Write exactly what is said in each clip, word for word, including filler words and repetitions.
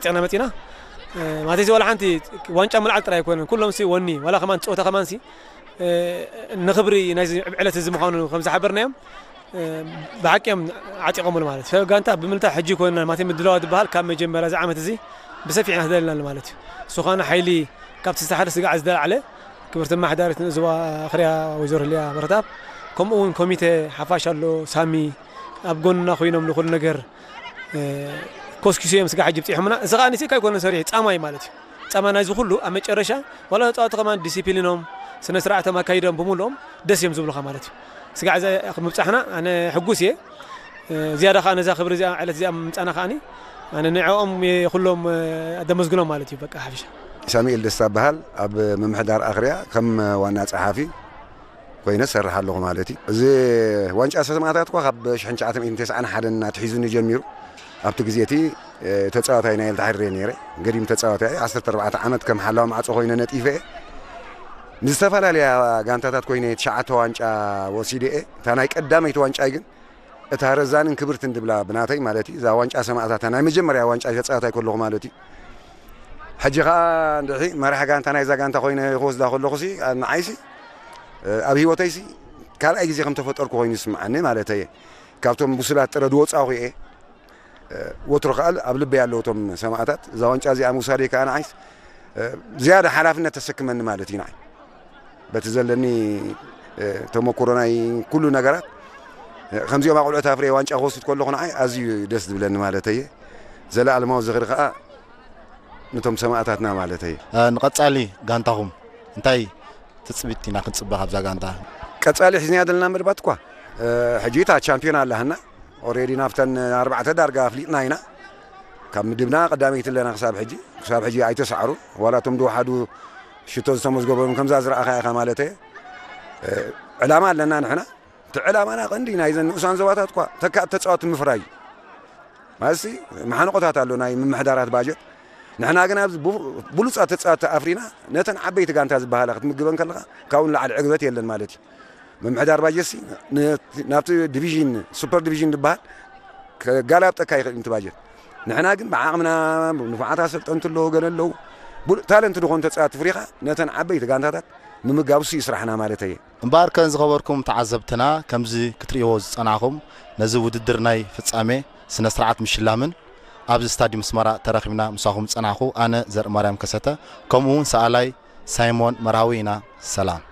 ጸና መጺና፣ እ፣ ማለትሲ ዋላ ሓንቲ ዋንጫ ምልዓል ጥራይ ኣይኮነን። ኩሎምሲ ወኒ፣ ዋላ ከማን ጸወታ ከማንሲ፣ እ፣ ንክብሪ ናይዚ ዕለት እዚ ምዃኑ ከም ዝሓበርናዮም፣ እ፣ ብሓቂ እዮም ዓጢቖምሉ ማለት እዩ። ሰብ ጋንታ ብምልታ ሕጂ ኮይና ማለትሲ ምድላዋ ዝበሃል ካብ መጀመርያ እዚ ዓመት እዚ ብሰፊሕ ኢና ተደሊና ማለት እዩ። እሱ ኸነ ሓይሊ ካብቲ ዝተሓደ ስጋዕ ዝተላዕለ ክብርቲ ኣመሓዳሪት ንእዝዋ ኣኽርያ ወይዘሮ ህልያ በረተኣብ፣ ከምኡ እውን ኮሚቴ ሓፋሽ ኣሎ፣ ሳሚ ኣብ ጎንና ኮይኖም ንኹሉ ነገር፣ እ፣ ኮስኪሶ እዮም ስጋዕ ሕጂ ብጺሖምና። እዚ ኸኣ ንስካ ኣይኮነን ሰሪሑ፣ ጻማ እዩ ማለት እዩ። ጻማ ናይዚ ኩሉ ኣብ መጨረሻ ዋላ ተጻወቲ ከማን ዲሲፕሊኖም፣ ስነ ስርዓቶም ኣካይዶም ብምልኦም ደስ እዮም ዝብሉኻ ማለት እዩ። ስጋዕ እዚ ምብጻሕና ኣነ ሕጉስ እየ። እ፣ ዝያዳ ኸኣ ነዛ ክብሪ እዚኣ፣ ዕለት እዚኣ ምምጻእና ከኣኒ ኣነ ንዕኦም እየ ኩሎም፣ እ፣ ኣደመስግኖም ማለት እዩ። በቃ ሓፊሻ። ሳሙኤል ደስታ እበሃል። ኣብ ምምሕዳር ኣኽርያ ከም ዋና ጸሓፊ ኮይነ እሰርሕ ኣለኹ ማለት እዩ። እዚ ዋንጫ ሰማእታት እኳ ካብ ሽሕን ትሽዓተ ሚእትን ተስዓን ሓደን ኣትሒዙኒ ጀሚሩ። ኣብቲ ግዜ እቲ፣ እ፣ ተጻዋታይ ናይ ኤልትራ ሕሬ ነይረ። ገዲም ተጻዋታይ ዓሰርተ ኣርባዕተ ዓመት ከም ሓላዊ ማዕጾ ኮይነ ነጢፈ እየ። ምስ ዝተፈላለያ ጋንታታት ኮይነ ትሽዓተ ዋንጫ ወሲደ እየ። እታ ናይ ቀዳመይቲ ዋንጫይ ግን እታ ረዛንን ክብርትን ድብላ ብናተይ ማለት እዩ። እዛ ዋንጫ ሰማእታት ናይ መጀመርያ ዋንጫ ተጻዋታይ ከለኹ ማለት እዩ። ሕጂ ኸኣ እንድሒ መራሕ ጋንታ ናይዛ ጋንታ ኮይነ ክወስዳ ከለኹሲ፣ ንዓይሲ፣ ኣብ ህይወተይሲ ካልኣይ ግዜ ከም ተፈጠርኩ ኮይኑ ይስምዓኒ ማለተየ። ካብቶም ብሱላት ጥረ ዝወጻኹ እየ። ወትሩ ከኣ ኣብ ልበይ ኣለዉ እቶም ሰማእታት። እዛ ዋንጫ እዚኣ ምውሳደይ ከኣ ንዓይስ ዝያዳ ሓላፍነት ተሰክመኒ ማለት እዩ ንዓይ። በቲ ዘለኒ ተመኩሮ ናይ ኩሉ ነገራት ከምዚኦም ኣቑልዑት ኣፍርየ ዋንጫ ክወስድ ከለኹ ንዓይ ኣዝዩ ደስ ዝብለኒ ማለተየ። ዘለኣለማዊ ዝኽሪ ከኣ ነቶም ሰማእታትና ማለተይ። እ፣ ንቐጻሊ ጋንታኹም እንታይ ትጽቢት ኢና ክንጽበ ካብዛ ጋንታ? ቀጻሊ ሒዝናያ ዘለና መደባት እኳ፣ እ፣ ሕጂ እታ ቻምፒዮን ኣላህና። ኦሬዲ ናብተን ኣርባዕተ ዳርጋ ኣፍሊጥና ኢና። ካብ ምድብና ቀዳመይቲ ኣለና ክሳብ ሕጂ። ክሳብ ሕጂ ኣይተሳዕሩን። ዋላ እቶም ዝወሓዱ ሽቶ ዝተመዝገበሎም ከምዛ ዝረኣኻ ኢኻ ማለተየ። እ፣ ዕላማ ኣለና ንሕና። እቲ ዕላማና ቀንዲ ናይዘን ንኡሳን ዞባታት እኳ ተካእቲ ተጻወትቲ ምፍራይ እዩ። ማለትሲ መሓንቆታት ኣሎ ናይ ምምሕዳራት ባጀት። ንሕና ግን ኣብዚ ቡ-፣ ብሉጻት ተጻወትቲ ኣፍሪና ነተን ዓበይቲ ጋንታ ዝበሃላ ክትምግበን ከለኻ ካብኡ ንላዕሊ ዕግበት የለን ማለት እዩ። ምምሕዳር ባጀትሲ ነ-፣ ናብቲ ዲቪዥን፣ ሱፐር ዲቪዥን ዝበሃል ከጋላብጠካ ይኽእል እዩ እቲ ባጀት። ንሕና ግን ብዓቕምና፣ ንፉዓት ኣሰልጠንቲ ኣለዉ፣ ገለ ኣለዉ። ብሉጽ ታለንት ዝኾኑ ተጻወትቲ ፍሪኻ ነተን ዓበይቲ ጋንታታት ምምጋብ እሱ እዩ ስራሕና ማለተየ። እምበኣርከ ዝኸበርኩም ተዓዘብትና፣ ከምዚ ክትርእይዎ ዝጸናኹም፣ ነዚ ውድድር ናይ ፍጻሜ ስነ ስርዓት ምሽላምን ኣብዚ ስታድዩም ኣስመራ ተረኺብና ምሳኹም ዝጸናኹ ኣነ ዘርእማርያም ከሰተ፣ ከምኡ እውን ሰኣላይ ሳይሞን መርሃዊ ኢና። ሰላም።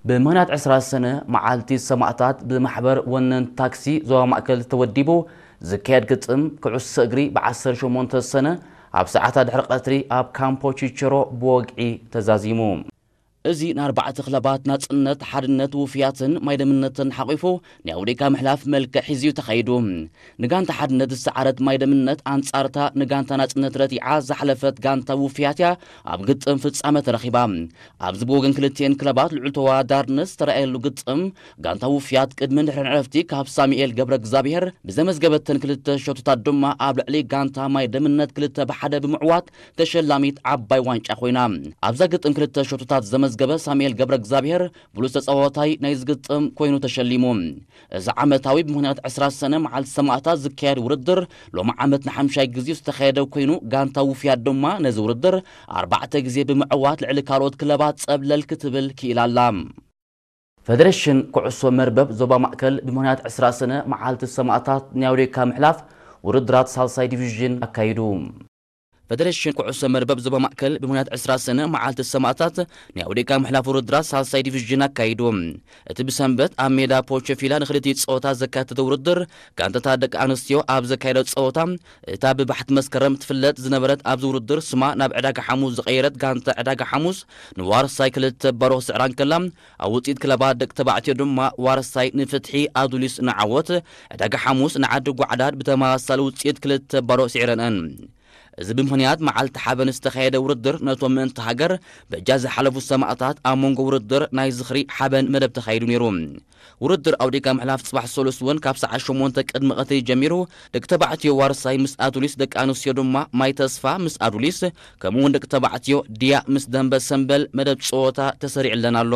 ብምኽንያት ዕስራ ሰነ መዓልቲ ሰማእታት ብማሕበር ወነንቲ ታክሲ ዞባ ማእከል ተወዲቡ ዝካየድ ግጥም ኩዕሶ እግሪ ብዓሰርተ ሸሞንተ ሰነ ኣብ ሰዓታት ድሕሪ ቀትሪ ኣብ ካምፖ ቺቸሮ ብወግዒ ተዛዚሙ። እዚ ንኣርባዕተ ክለባት ናጽነት፣ ሓድነት፣ ውፍያትን ማይደምነትን ሓቂፉ ናይ ኣውዴካ ምሕላፍ መልክዕ ሒዙ ተኻይዱ። ንጋንታ ሓድነት ዝሰዓረት ማይደምነት ኣንጻርታ ንጋንታ ናጽነት ረቲዓ ዝሓለፈት ጋንታ ውፍያት እያ ኣብ ግጥም ፍጻመ ተረኺባ። ኣብዚ ብወገን ክልቲኤን ክለባት ልዑል ተወዳዳርነት ዝተረኣየሉ ግጥም፣ ጋንታ ውፍያት ቅድሚ ድሕረን ዕረፍቲ ካብ ሳሙኤል ገብረ እግዚኣብሄር ብዘመዝገበተን ክልተ ሸቶታት ድማ ኣብ ልዕሊ ጋንታ ማይ ደምነት ክልተ ብሓደ ብምዕዋት ተሸላሚት ዓባይ ዋንጫ ኮይና። ኣብዛ ግጥም ክልተ ሸቶታት ዘመዝገበ ሳሙኤል ገብረ እግዚኣብሄር ብሉጽ ተጻዋታይ ናይዚ ግጥም ኮይኑ ተሸሊሙ። እዚ ዓመታዊ ብምኽንያት ዕስራ ሰነ መዓልቲ ሰማእታት ዝካየድ ውድድር ሎሚ ዓመት ንሓምሻይ ግዜ ዝተኻየደ ኮይኑ፣ ጋንታ ውፍያት ድማ ነዚ ውድድር ኣርባዕተ ግዜ ብምዕዋት ልዕሊ ካልኦት ክለባት ጸብለል ክትብል ክኢላ ኣላ። ፈደሬሽን ኩዕሶ መርበብ ዞባ ማእከል ብምኽንያት ዕስራ ሰነ መዓልቲ ሰማእታት ናይ ኣውዴካ ምሕላፍ ውድድራት ሳልሳይ ዲቪዥን ኣካይዱ። ፈደሬሽን ኩዕሶ መርበብ ዞባ ማእከል ብምኽንያት ዕስራ ሰነ መዓልቲ ሰማእታት ናይ ኣውዴካ ምሕላፍ ውድድራት ሳልሳይ ዲቪዥን ኣካይዱ። እቲ ብሰንበት ኣብ ሜዳ ፖቸፊላ ንክልቲኡ ጸወታ ዘካተተ ውድድር፣ ጋንታታት ደቂ ኣንስትዮ ኣብ ዘካየዶ ጸወታ፣ እታ ብባሕቲ መስከረም ትፍለጥ ዝነበረት ኣብዚ ውድድር ስማ ናብ ዕዳጋ ሓሙስ ዝቐየረት ጋንታ ዕዳጋ ሓሙስ ንዋርሳይ ክልተ ባሮ ክስዕራ እንከላ፣ ኣብ ውጽኢት ክለባት ደቂ ተባዕትዮ ድማ ዋርሳይ ንፍትሒ ኣዱሊስ ንዓወት፣ ዕዳጋ ሓሙስ ንዓዲ ጓዕዳድ ብተመሳሳሊ ውጽኢት ክልተ ባሮ ስዒረንአን። እዚ ብምኽንያት መዓልቲ ሓበን ዝተኻየደ ውድድር ነቶም ምእንቲ ሃገር በጃ ዝሓለፉ ሰማእታት ኣብ መንጎ ውድድር ናይ ዝኽሪ ሓበን መደብ ተኻይዱ ነይሩ። ውድድር ኣውዴካ ምሕላፍ ጽባሕ ሰሉስ እውን ካብ ሰዓት ሸሞንተ ቅድሚ ቀትሪ ጀሚሩ፣ ደቂ ተባዕትዮ ዋርሳይ ምስ ኣዱሊስ፣ ደቂ ኣንስትዮ ድማ ማይ ተስፋ ምስ ኣዱሊስ፣ ከምኡ እውን ደቂ ተባዕትዮ ድያ ምስ ደንበ ሰምበል መደብ ጸወታ ተሰሪዕለን ኣሎ።